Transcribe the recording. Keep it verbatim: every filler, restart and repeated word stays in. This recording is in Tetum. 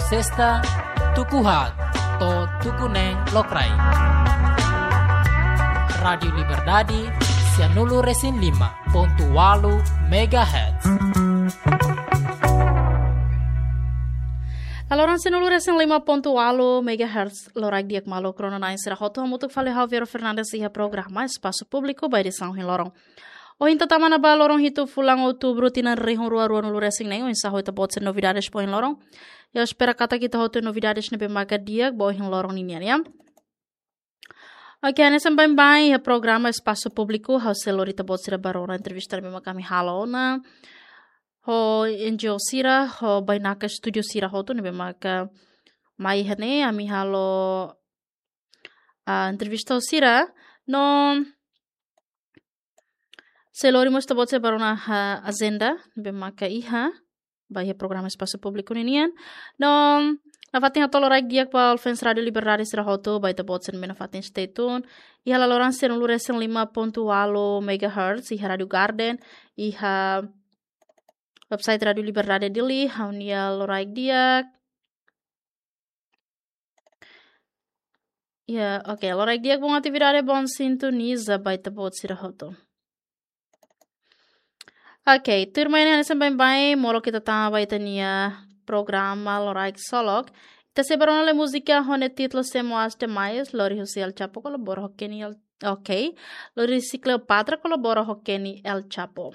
Sesta, tuku haat to'o tuku neen lokraik. Rádiu Liberdade, sianulu-resin-lima pontu ualu megahertz. Laloran sianulu-resin-lima pontu ualu megahertz, loraik di'ak maluk rona-na'in sira hotu, hamutuk fali ha'u Vero Fernandes iha programa Espasu Públiku ba edisaun ohin loron. Ohin ita tama ona ba loron hitu fulan Outubru tinan rihun rua ruanulu-resin-neen, oinsá ho ita-boot sira novidades ba ohin loron. Ha'u espera katak ita hotu novidades ne'ebé maka di'ak ba ohin loron ninian, ya. Oke, hanesan baibain iha programa Espasu Públiku, ha'u sei lori ita-boot sira ba rona entrevista ne'ebé maka ami halo ona ho N G O sira, ho bainaka estúdiu sira hotu ne'ebé maka mai iha ne'e, ami halo, ah, entrevista ho sira. No sei lori mós ita-boot sira ba rona, ah, ajenda ne'ebé maka iha ba iha programa Espasu Públiku ninian. No nafatin hato'o loraik di'ak ba all fans Rádiu Liberdade sira hotu, ba ita-boot sira ne'ebé nafatin stay tune iha laloran sianulu-resin-lima pontu ualu megahertz, iha Rádiu Garden, iha website Rádiu Liberdade Dili, ha'u-nia loraik di'ak. Ya, oke, loraik di'ak, bom atividade, bom sintoniza ba ita-boot sira hotu. Oke, tuirmai ne'e hanesan baibain, molok ita tama ba ita-nia programa loraik solok. Ita sei ba rona lai múzika ho nia títulu Sé Moas Demais, lori husi El Chapo, kolabora ho Kenny El, oke, lori husi Cleopatra, kolabora ho Kenny El Chapo.